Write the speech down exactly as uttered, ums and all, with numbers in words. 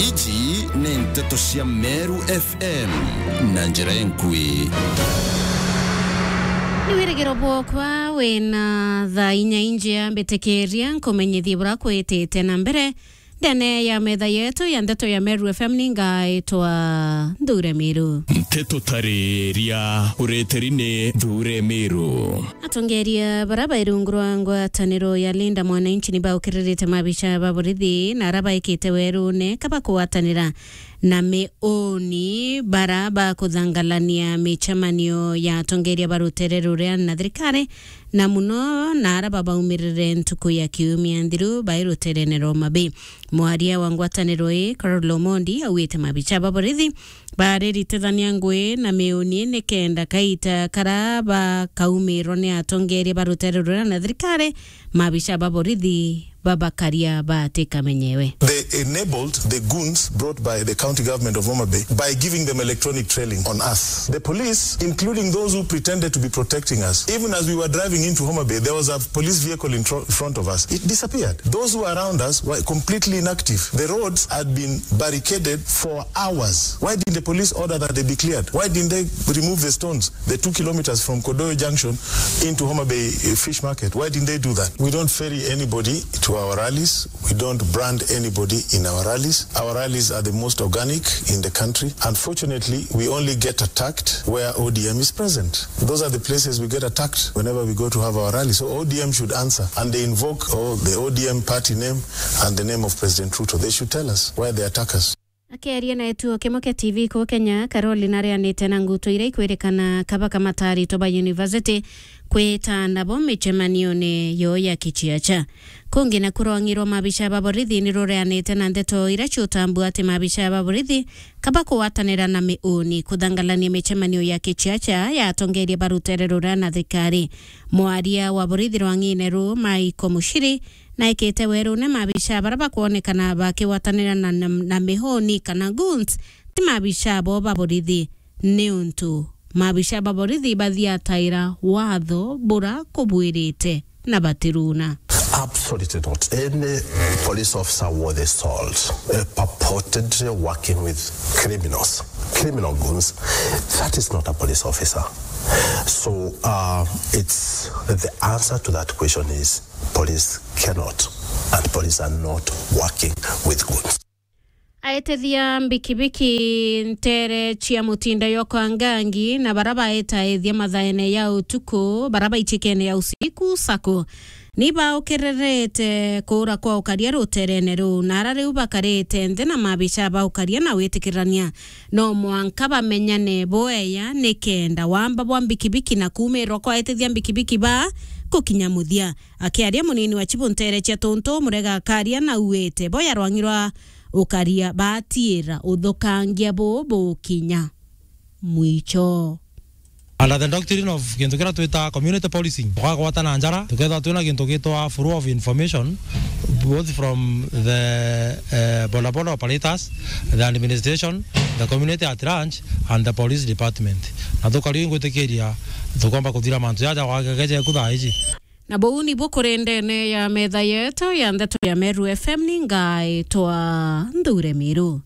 Iji ni nteto cia Meru F M na njira enkui. Ni wirigiro bwokwa wina thaa inya injia mbitikiria nkumenyithie bura kwitite na mbere. Ndene ya metha yetu ya ndeto ya Meru F M ni ngaitwa Nthure Miru. Nteto tariria ureteri ni Nthure Miru. Atongeria bara bairungurwa ngwataniro ya Linda Mwananchi ni baukiririte mabicha ba borithi na ara baikite werune kaba kugwatanira na miuni bara bakuthangalania micemanio ya atongeria ba rutere ruria na thirikari, na muno na ara babaumirire ntuku ya kiumia nthiru bai ruterene rwa Homa Bay. Mwaria wa ngwataniro ii, Carol Omondi, augite mabicha ba borithi bariritithania ngui na miuni ni kenda kaita kara bakaumirwa ni atongeria ba rutere ruria na thirikari, mabicha ba borithi babakaria batikamenyewe. They enabled the goons brought by the county government of Homa Bay by giving them electronic trailing on us. The police, including those who pretended to be protecting us, even as we were driving into Homa Bay, there was a police vehicle in tro- front of us. It disappeared. Those who were around us were completely inactive. The roads had been barricaded for hours. Why didn't the police order that they be cleared? Why didn't they remove the stones, the two kilometers from Kodoyo Junction into Homa Bay, uh, Fish Market? Why didn't they do that? We don't ferry anybody to our rallies. We don't brand anybody in our rallies. Our rallies are the most organic in the country. Unfortunately, we only get attacked where O D M is present. Those are the places we get attacked whenever we go to have our rally. So O D M should answer, and they invoke, oh, the O D M party name and the name of President Ruto. They should tell us where they attack us. Akiaria na gituo kimwe kia T V kuu Kenya, Carolin arianite na ngutu iria ikwirikana kaba kamataritwe ba university kwita nabo micemanione yo ya kichiacha. Kungi na kurongirwa mabicha ba borithi ni rureanite na ndeto iria ciutambua ati mabicha ba borithi kaba kugwatanira na miuni kuthangalania micemanio ya kichiacha ya atongeria ba rutere ruria na thirikari. Mwaria wa borithi rwang'ine ru, Michael Muchiri, naikite werune mabicha bara bakwonekana bakigwatanira na, na, na mihuni kana goons, ti mabicha bo ba borithi, niuntu mabicha ba borithi bathiataira watho bura kubwirite na batiruna. Absolutely not. Any police officer worth his salt, uh, purportedly working with criminals, criminal goons, that is not a police officer. So, uh, it's, the answer to that question is police cannot and police are not working with goons. Aetithia mbikibiki ntere cia mutinda yokwa ngangi na bara baetaethia mathaene ya utuku, bara baichikene ya usiku sako, ni baukirerete kuura kwa ukaria ruterene ruu, na ara riu bakarite nthi na mabicha ba ukaria na witikirania. No mwanka bamenyane bweya nikenda wamba bwa mbikibiki na kuumirwa kwa aetithia mbikibiki ba gukinya muthia. Akiaria munini wa chibu ntere cia Tuntu, Murega akaria na auite boya rwang'i rwa ukaria batiira uthukangia buu bukinya mwicho. Under the doctrine of gintu kiria twita community policing, tukagwatana njara, tukethirwa twina gintu gitwa flow of information, both from the, eh, bodaboda operators, the administration, the community at large, and the police department. Na tukaria ingwitikiria tukomba kuthira mantu jaja gwagageje ku thaa iji. Na buu nibu kuri ndene ya metha yetu ya ndeto ya Meru F M, ni ngaitwa Nthure Miru.